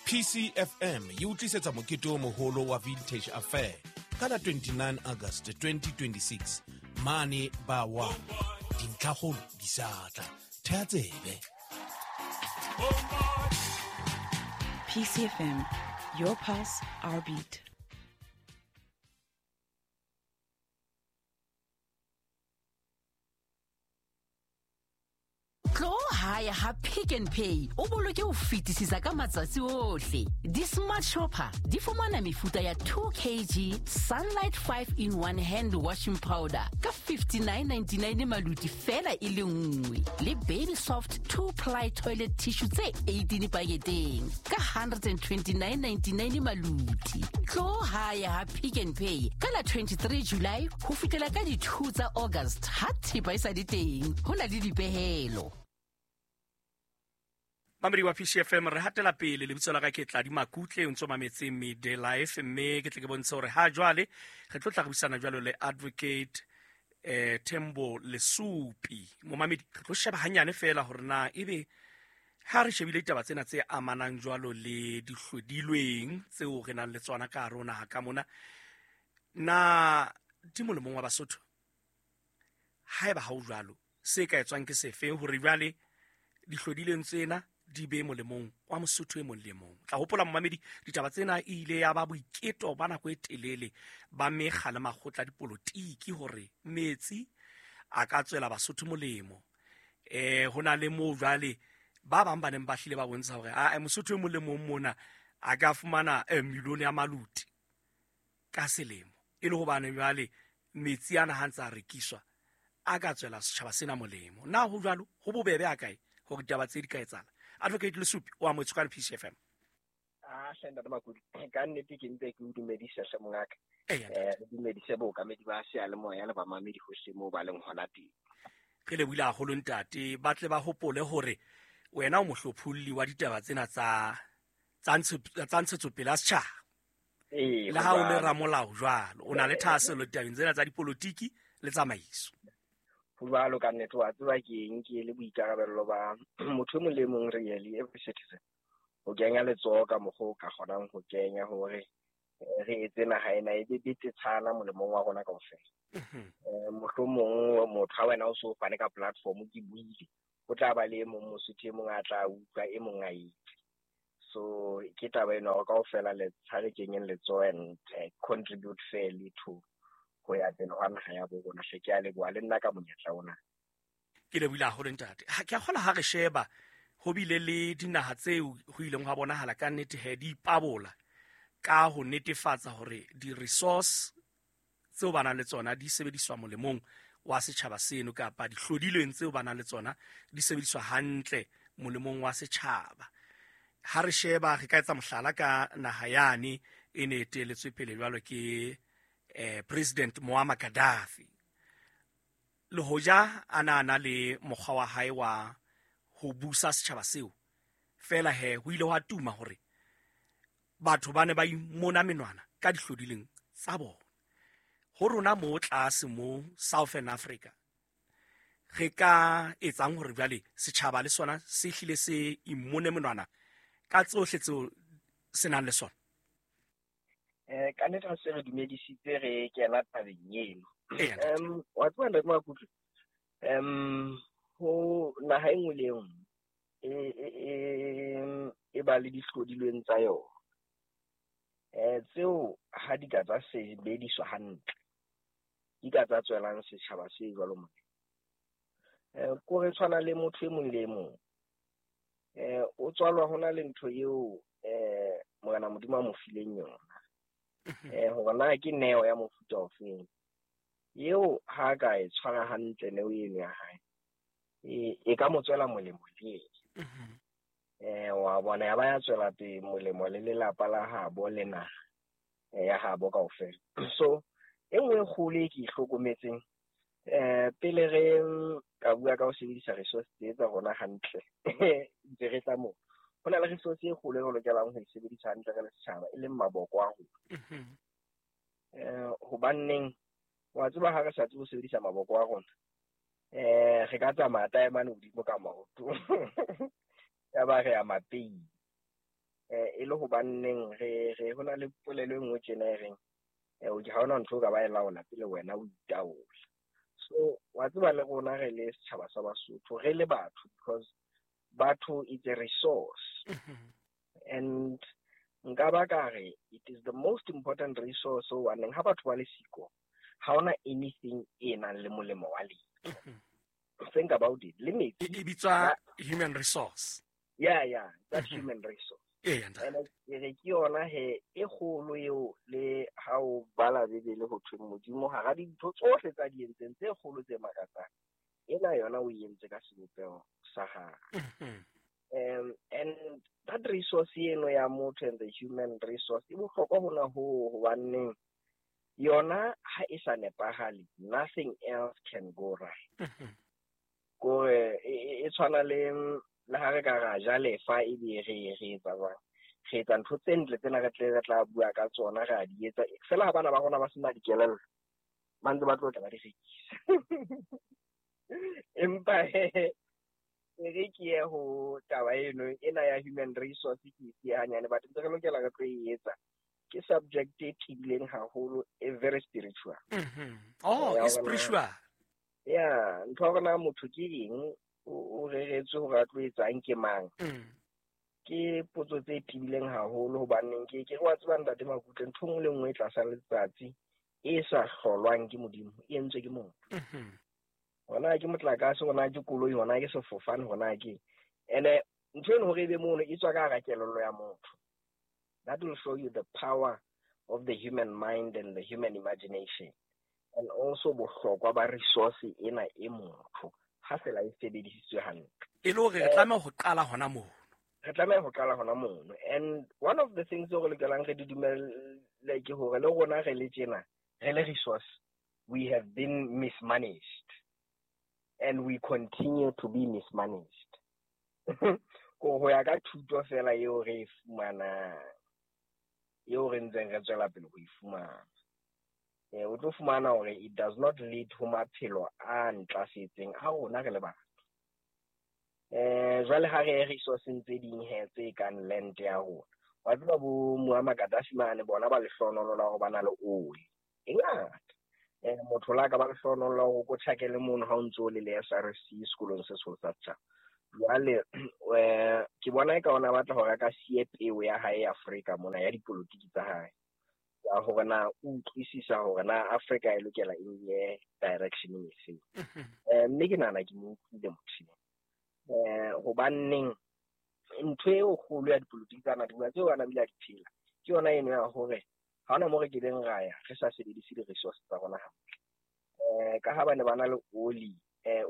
PCFM e o tlisetsa mokete o moholo wa Vintage Affair ka la 29 August 2026 mane ba wa dintlhakgolo di sa tla thea tsebe. PCFM, your pulse, our beat. Tlo hae ha Pick n Pay o boloke ho fetisisa ka matsatsi ohle. Di-smart shopper di fumana mefuta ya 2 kg Sunlight 5 in 1 hand washing powder ka 59.99 maluti fela e le nngwe, le Baby Soft 2 ply toilet tissue tse 18 paketeng ka 129.99 maluti. Tlo hae ha Pick n Pay ka la 23 July ho fihlela ka di 2 tsa August ha thepa e sa le teng, ho na le dipehelo. Mamedi wa PCFM, re hatela pele. Lebitso la ka ke Tladi Makutle, o ntso mametse Midday Life, mme ke tle ke bontshe hore ha jwale re tlo tla re buisana jwalo le Advocate Thembo Lesupi. Momamedi, re tlo sheba hanyane fela hore na ebe ha re shebile ditaba tsena tse amanang jwalo le dihlodilweng tseo re nang le tsona ka hare ho naha ka mona, na di molemong wa Basotho? Haeba ha o jwalo, se ka etswang ke sefe hore jwale dihlodileng tsena di be molemong wa Mosotho e mong le mong? Tla hopola momamedi, ditaba tsena e ile ya ba boiketo ba nako e telele ba mekga le makgotla a dipolotiki hore metsi a ka tswela Basotho molemo. Ho na le moo jwale ba bang ba neng ba hlile ba bontsha hore a Mosotho e mong le mong mona a ka fumana milione ya maluti ka selemo, e le hobane jwale metsi ana ha ntse a rekiswa a ka tswela setjhaba sena molemo. Na ho jwalo? Ho bobebe a kae hore ditaba tse di ka etsahala? Advocate Lesupi o amohetswe ka PCFM. Ah, hle ntate Makudi, ka nnete ke mpe ke o dumedise hle mongaka. Eya, ntate. Re dumedise bookamedi ba seyalemoya le bamamedi hohle moo ba leng hona teng. Re lebohile haholo ntate. Ba tle ba hopole hore wena o mohlopholli wa ditaba tsena tsa ntshetsopele ya setjhaba. Ee, Le ha o le jwalo. ramolao jwalo, o na le thahasello ditabeng tsena tsa dipolotiki le tsamaiso. Ho jwalo ka nnete, wa tseba ke eng, ke le boikarabello ba motho e mong le e mong really, every citizen, ho kenya letsoho ka mokgwa o ka kgonang ho kenya hore re etse naha ena e be betetshana molemong wa rona kaofela. Mohlomong motho ha wena o so fane ka platform, ke buile, ho tla ba le e mong Mosotho e mong a tla utlwa, e mong a itse. So ke taba ena hore kaofela le tshware kenyeng letsoho and contribute fairly to ho ya pele hwa naha ya bo rona. Hle ke a leboha le nna ka monyetla ona. Ke lebohile haholo ntate. Ha ke a kgola ha re sheba ho bile le dinaha tseo ho ileng hwa bonahala ka nnete he di ipabola ka ho netefatsa hore di-resource tseo ba nang le tsona di sebediswa molemong wa setjhaba seno, kapa dihlodilweng tseo ba nang le tsona di sebediswa hantle molemong wa setjhaba. Ha re sheba, re ka etsa mohlala ka naha yane e ne e eteletswe pele jwalo ke President Muammar Gaddafi. Le hoja a na na le mokgwa wa hae wa ho busa setjhaba seo, fela he ho ile hwa tuma hore batho ba ne ba imona menwana ka dihlodileng tsa bona. Ho rona mo tlase mo Southern Africa, re ka etsang hore jwale setjhaba le sona se hlile se imone menwana ka tsohle tseo se nang le sona? Ka nnete ha se re dumedisitse re kena tabeng eno. Eya, ntate. Wa tseba ntate Makutle, ho naha e nngwe le e nngwe e ba le dihlodilweng tsa yona. Tseo ha di ka tsa sebediswa hantle, di ka tsa tswelang setjhaba se jwalo molemo. Ko re tshwana le motho e mong le e mong. O tswalwa hona le ntho eo, Morena Modimo a mo fileng yona. Hore na ke neo ya mofuta ofeng eo ha ka e tshwara hantle neo eno ya hae, e ka mo tswela molemo le yena. Wa bona, ya ba ya tswela pele molemo le lelapa la habo le naha ya habo kaofela. So e nngwe e kgolo e ke e hlokometseng, pele re ka bua ka ho sebedisa resource tse tsa rona hantle, ntse re tla moo, ho na le resource e kgolo e re lokelang ho e sebedisa hantle re le setjhaba, e leng maboko a rona. Hobanneng wa tseba ha re sa tsebe ho sebedisa maboko a rona, re ka tsamaya taemane hodimo ka maoto. Ya ba re ya mapeing. E le hobanneng re ho na le polelo e nngwe tjena e reng ha hona ntho o ka ba e laola pele wena o itaola. So wa tseba le rona re le setjhaba sa Basotho, re le batho, because batho is a resource. And nka ba ka re it is the most important resource hobaneng ha batho ba le siko, ha hona anything e nang le molemo wa letho. Think about it. Le metsi. E bitswa human resource. Yeah, that human resource. Ntate. And ke re ke yona he e kgolo eo le ha o bala Bibele ho thwe Modimo hara dintho tsohle tsa di entseng tse kgolo tse makatsang, ena yona o e entse ka sebopeho sa hae. And that resource eno ya motho and the human resource e bohlokwa hona hoo hobaneng yona ha e sa nepahale, nothing else can go right. Kore e tshwana le ha re ka ra ja lefa ebe re etsa jwang, re etsa ntho tse ntle tsena re tle re tla bua ka tsona, re a di etsa fela ha bana ba rona ba sena dikelello, ba ntse ba tlo tla ba di rekisa. Empa e re ke ye ho taba eno ena ya human resource ke e siya hanyane, but ntse re lokela re tlo e etsa. Ke subject e tibileng haholo, e very spiritual. Oh, Ya e hore na spiritual. Ya, ntho ya hore na motho ke eng, o reretswe hore a tlo etsang ke mang. Ke potso tse tibileng haholo hobaneng ke re wa tseba ntate Makutle, ntho e nngwe le nngwe e tlasa letsatsi e sa hlolwang ke Modimo, e entswe ke motho. Hona ke motlakase, hona ke koloi, hona ke sefofane, hona ke ene ntho eno hore ebe mono e tswa ka hara kelello ya motho. That will show you the power of the human mind and the human imagination, and also bohlokwa ba resource ena e motho ha fela e sebedisitswe hantle. E le hore re tlameha ho qala hona mono. Re tlameha ho qala hona mono. And one of the things tseo re lokelang re di dumelle ke hore le rona re le tjena, re le resource, we have been mismanaged and we continue to be mismanaged. Ko ho ya ka thuto fela eo re e fumanang, eo re ntseng re tswela pele ho e fumana. O tlo fumana hore it does not lead ho maphelo a ntlafetseng a rona re le batho. Jwale ha re ye resourceng tse ding he tse kang land ya rona. Wa tseba bo Muammar Gaddafi mane bona ba lehlohonolo la hore ba na le oli e ngata. Motho la ka ba lehlohonolo la hore o tjhakele mono ha o ntso o le le SRC sekolong se seholo sa setjhaba. Jwale, ke bona eka ona batla hore a ka siye peo ya hae Afrika mona ya dipolotiki tsa hae. Ya hore na o utlwisisa hore na Afrika e lokela e nye direction efe. Mme ke nahana ke mo utlwile motho. Hobaneng ntho eo kgolo ya dipolotiki tsa na dibua tseo ana bile a di phela, ke yona eno ya hore ha hona moo re kileng ra ya re sa sebedise di-resource tsa rona hantle. Ka ha ba ne ba na le oli,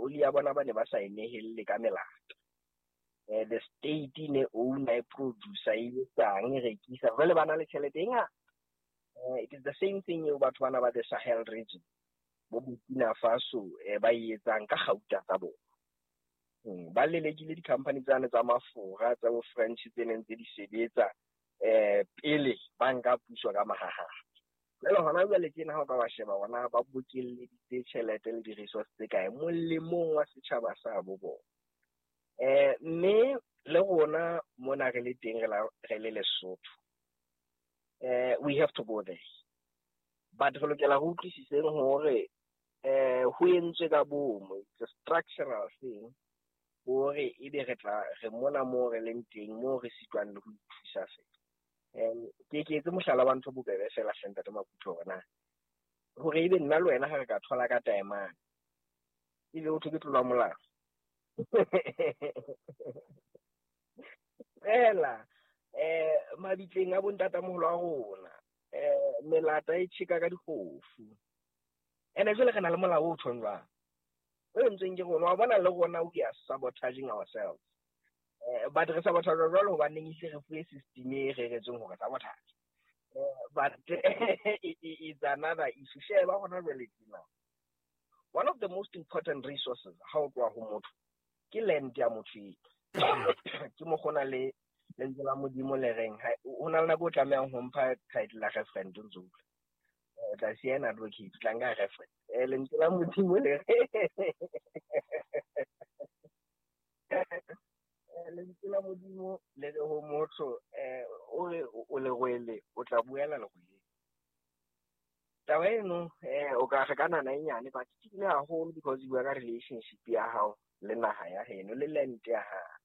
oli ya bona ba ne ba sa e nehelle ka melata. The state e ne owner, e producer, e etsang, e rekisa. Jwale ba na le tjhelete e ngata. It is the same thing eo batho bana ba the Sahel region, bo Burkina Faso, ba e etsang ka kgauta tsa bona. Ba lelekile di-company tsane tsa mafura, tsa bo French tse neng tse di sebetsa, pele ba nka puso ka mahaha. Jwale hona jwale tjena ha o ka wa sheba bona ba bokelleditse tjhelete le di-resource tse kae molemong wa setjhaba sa bo bona. Mme le rona mona re le teng re le Lesotho. We have to go there. But re lokela ho utlwisiseng hore, ho entswe ka bomo, it's a structural thing, hore ebe re tla re mona moo re leng teng, moo re sitwang le ho ithusa fela. Ke etse mohlala wa ntho bobebe fela hle ntate Makutle hore na hore ebe nna le wena ha re ka thola ka taemane, ebe ho thwe ke tlolo ya molao. Fela, mabitleng a bontatamoholo a rona, melata e tjheka ka dikgofu. Ene jwale re na le molao o tjhong jwang? O entsweng ke rona, wa bona le rona we are sabotaging ourselves. But re sabotage jwalo hobaneng ise re fuwe system e reretsweng hore sabotage. But it's another issue. Sheba hona jwale tjena. One of the most important resources ha o tloha ho motho ke land ya motho eo. Ke mo gona le lentswe la Modimo le reng, ha, ho na le nako o tlamehang ho mpha title la referent o ntso utlwa. O tla siya ena advocate, o tla nka referent. Lentswe la Modimo le re, Lentswe la Modimo le re ho motho o re o lerwele o tla buela lerwele. Taba eno o ka re ka nana e nyane, but ke tibile haholo because e bua ka relationship ya hao le naha ya heno le land ya hao.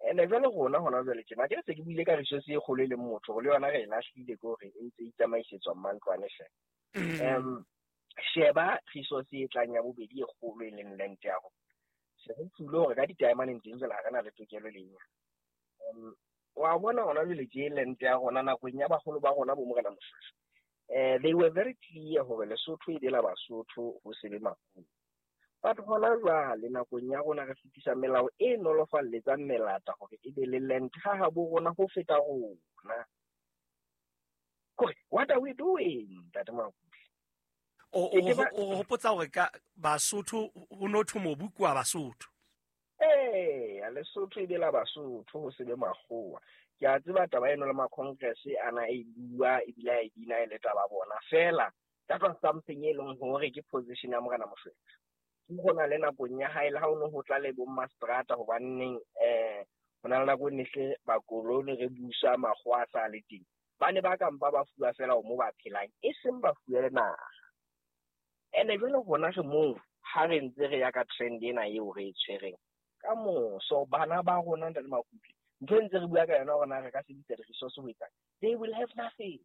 Ene jwale rona hona jwale tjena ke se ke buile ka resource e kgolo e leng motho le yona re e lahlile ke hore e ntse e tsamaisetswa mantlwane hle. Sheba resource e tlang ya bobedi e kgolo e leng land ya rona. Se re tsule hore ka ditaemaneng teng jwale ha re na le tokelo le nyane. Wa bona hona jwale tje land ya rona nakong ya baholo ba rona bo Morena Moshoeshoe. They were very clear hore Lesotho e be la Basotho ho se be Makgowa. But hona jwale nakong ya rona re fetisa melao e nolofalletsang melata hore e be le land ha habo rona ho feta rona. Kore what are we doing, Ntate Makutle? O hopotsa hore ka Basotho ho no thwe mobu ke wa Basotho. Ee, Lesotho e be la Basotho ho se be Makgowa. Ke a tseba taba eno le ma-congress ana e bua ebile a e bina e le taba bona. Feela that was something e leng hore ke position ya Morena Moshoeshoe. Ke hona le nakong ya hae le ha o no ho tla le bo mmaseterata hobanneng ho na le nako e ne hle bakolone re busa makgowa a sa le teng. Ba ne ba ka mpa ba fuwa feela mo ba phelang, e seng ba fuwe le naha. Ene jwale rona re moo ha re ntse re ya ka trend ena eo re e tshwereng. Ka moso bana ba rona Ntate Makutle, ntho e ntse re bua ka yona hore na re ka sebedisa di-resource ho etsang, they will have nothing.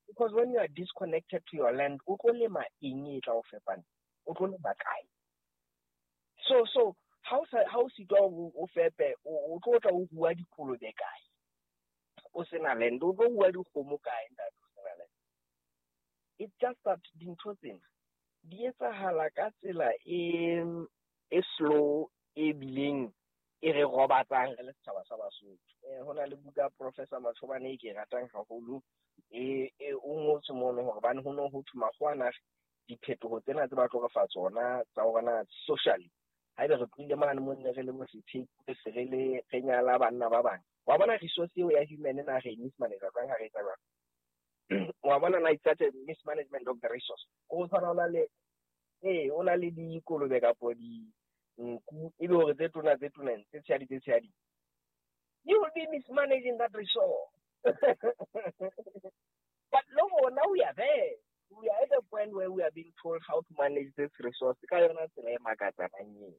Because when you are disconnected to your land, o tlo lema eng e tla o fepang? O tlo lema kae? So ha o sitwa o fepe, o tlo tla o rua dikolobe kae? O sena land, o tlo rua dikgomo kae ntate o sena land? It's just that dintho tsena di etsahala ka tsela e slow e bileng e re robatsang re le setjhaba sa Basotho. Ho na le buka Professor Mashobane e ke e ratang haholo, e o ngotswe mono hore bane ho no ho thwe makgowa na diphetoho tsena tse ba tlo re fa tsona tsa hore na socially haebe re tlohile mane mo ne re le bo sethepu, re se re le re nyala banna ba bang. Wa bona resource eo ya human na re mismanage jwang ha re etsa jwang? Wa bona na it's such a mismanagement of the resource. Ho tshwana o na le o na le dikolobe kapo di nku e be hore tse tona tse tona tse tshehadi tse tshehadi. You will be mismanaging that resource. But no, now we are there. We are at a point where we are being told how to manage this resource. Ka yona tsela e makatsanang eo.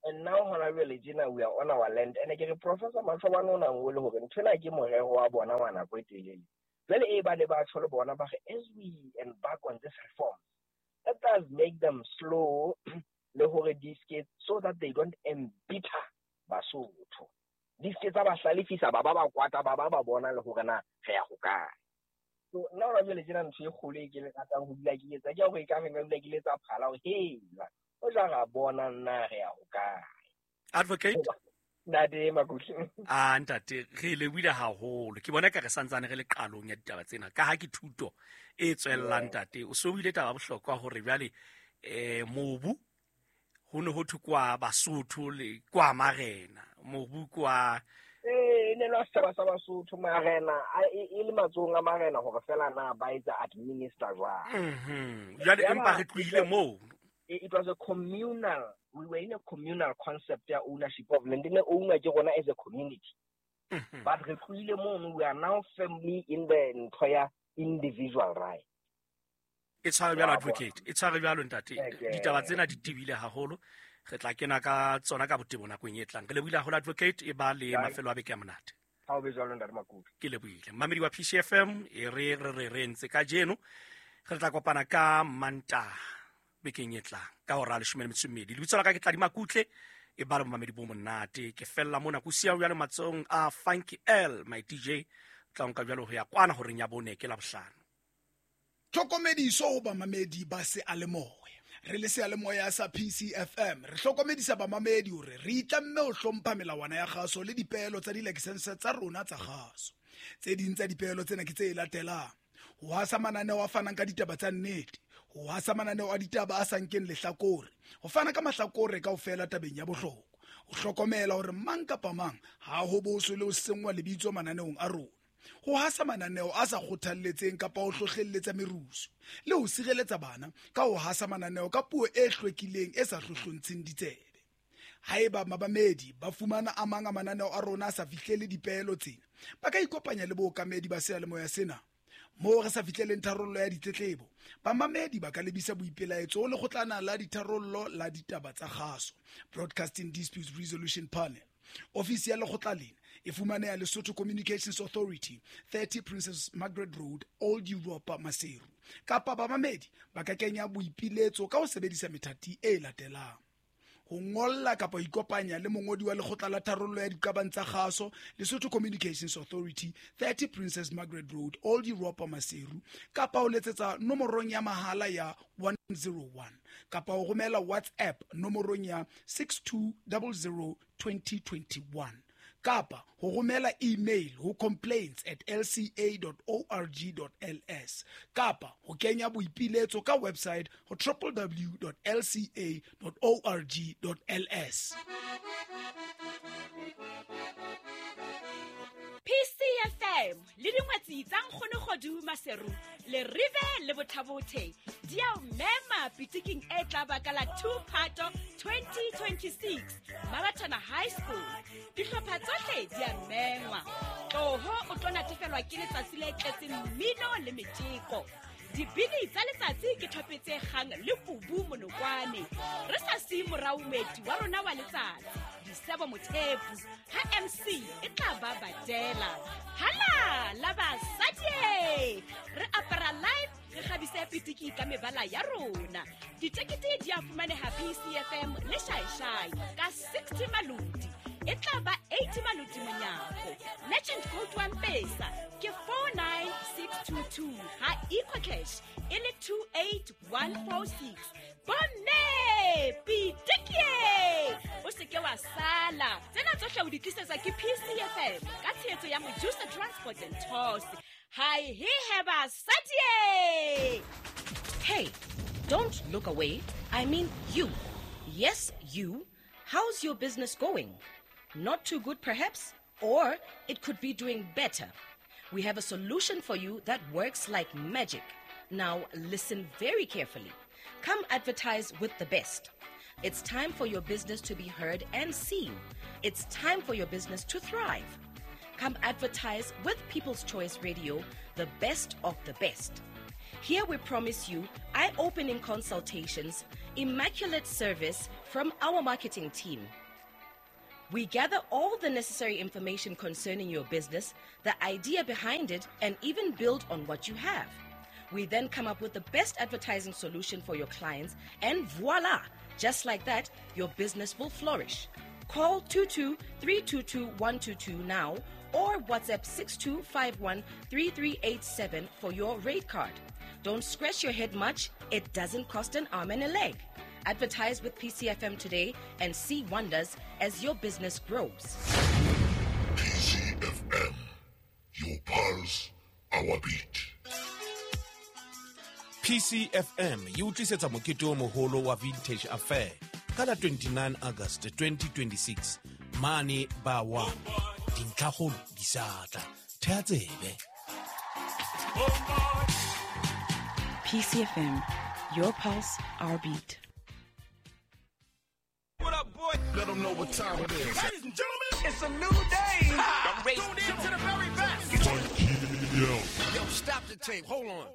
And now hona jwale tjena we are on our land. And ke re Professor Mashobane o na ngole hore nthwena ke morero wa bona wa nako e telele. Jwale e ba ne ba tjho le bona ba re as we embark on this reform, let us make them slow le hore di ske so that they don't embitter Basotho. Di ske tsa ba hlalefisa ba ba ba kwata ba ba ba bona le hore na re ya hokae. So nna hona jwale tjena ntho e kgolo e ke le ratang ho dula ke etsa ke hore e ka re nka dula ke letsa phala hore hela o ja ra bona nna re ya hokae. Advocate Ntate Makutle. Ntate re lebohile haholo. Ke bona ka re santsane re le qalong ya ditaba tsena ka ha ke thuto e tswellang ntate. O so buile taba bohlokwa hore jwale mobu ho ne ho thwe kwa Basotho le kwa marena, mobu kwa ne la setjhaba sa Basotho marena e le matsohong a marena hore fela na ba etsa administer jwang. Jwale empa re tlohile moo. It was a communal, we were in a communal concept ya ownership of land. Ne owner ke rona as a community. But re tlohile mono, we are now firmly in the ntho ya individual right. E tshware jwalo advocate, e tshware jwalo ntate. Ditaba tsena di tebile haholo. Re tla kena ka tsona ka botebo nakong e tlang. Re lebohile haholo advocate, e ba le mafelo a beke a monate. Ha o be jwalo ntate Makutle. Ke lebohile. Mmamedi wa PCFM e re re re re ntse kajeno. Re tla kopana ka Mantaha bekeng e tlang ka hora ya 12. Lebitso la ka ke Tladi Makutle, e ba le momamedi bo monate. Ke fella mona ko siya jwale matsohong a Funky L, my DJ. Tla nka jwalo ho ya kwana horeng ya 4 ke Labohlano. Tlhokomediso ho bamamedi ba seyalemoya. Re le seyalemoya sa PCFM re hlokomedisa bamamedi hore re itlamme ho hlompha melawana ya kgaso le dipeelo tsa dilakesense tsa rona tsa kgaso. Tse ding tsa dipeelo tsena ke tse latelang: ho hasa mananeo a fanang ka ditaba tsa nnete, ho hasa mananeo a ditaba a sa nkeng lehlakore, ho fana ka mahlakore kaofela tabeng ya bohlokwa, ho hlokomela hore mang kapa mang ha ho boswe le ho senngwa lebitso mananeong a rona, ho hasa mananeo a sa kgothalletseng kapa ho hlohlelletsa merusu, le ho sireletsa bana ka ho hasa mananeo ka puo e hlwekileng e sa hlohlontsheng ditsebe. Haeba babamedi ba fumana a mang a mananeo a rona a sa fihlele dipeelo tsena, ba ka ikopanya le bookamedi ba seyalemoya sena. Moo re sa fihleleng tharollo ya ditletlebo, bamamedi ba ka lebisa boipelaetso ho lekgotlana la ditharollo la ditaba tsa kgaso, Broadcasting Disputes Resolution Panel. Ofisi ya lekgotla lena e fumaneha Lesotho Communications Authority, 30 Princess Margaret Road, Old Europa, Maseru. Kapa bamamedi ba ka kenya boipiletso ka ho sebedisa methati e latelang: ho ngolla kapa ho ikopanya le mongodi wa lekgotla la tharollo ya diqabang tsa kgaso, Lesotho Communications Authority, 30 Princess Margaret Road, Old Europa, Maseru, kapa ho letsetsa nomorong ya mahala ya 101, kapa ho romela WhatsApp nomorong ya 6200 2021, kapa ho romela email ho complaints@lca.org.ls, kapa ho kenya boipiletso ka website ho www.lca.org.ls. PCFM le dingwetsi tsa Nkgonogodu Maseru le Rive le Bothabothe di a o mema pitiking e tla baka la 2 Phato 2026 Mabathana High School. Dihlopha tsohle di a mengwa. Tloho o tlo natefelwa ke letsatsi le tletseng mmino le metjeko. Dibini tsa letsatsi ke thope tse kgang le kubu monokwane. Re sa siye morao moeti wa rona wa letsatsi, Disebo Mothepu, ha MC e tla ba badela. Hala la basadi! Re apara live, re kgabise pitiki ka mebala ya rona. Ditekete di a fumaneha PCFM le Shaishai ka 60 maloti. E tla ba 80 maloti monyako. Legend code wa Mpesa ke 49622, ha EcoCash e le 28146. Bomme pitikie, o se ke wa sala. Tsena tsohle o di tlisetsa ke PCFM ka tshehetso ya Mojusa Transport and Tours. Hi he he basadi. Hey, don't look away. I mean you. Yes, you. How's your business going? Not too good, perhaps? Or it could be doing better. We have a solution for you that works like magic. Now, listen very carefully. Come advertise with the best. It's time for your business to be heard and seen. It's time for your business to thrive. Come advertise with People's Choice Radio, the best of the best. Here we promise you eye-opening consultations, immaculate service from our marketing team. We gather all the necessary information concerning your business, the idea behind it, and even build on what you have. We then come up with the best advertising solution for your clients, and voila! Just like that, your business will flourish. Call 22-322-122 now or WhatsApp 6251-3387 for your rate card. Don't scratch your head much. It doesn't cost an arm and a leg. Advertise with PCFM today and see wonders as your business grows. PCFM, your pulse, our beat. PCFM e o tlisetsa mokete o moholo wa Vintage Affair ka la 29 August 2026 mane ba 1. Dintlhakgolo di sa tla. Thea tsebe. PCFM, your pulse, our beat. What up, boy? Let them know what time it is. Ladies and gentlemen, it's a new day. I'm tuned in to the very best. Yo, stop the tape. Hold on.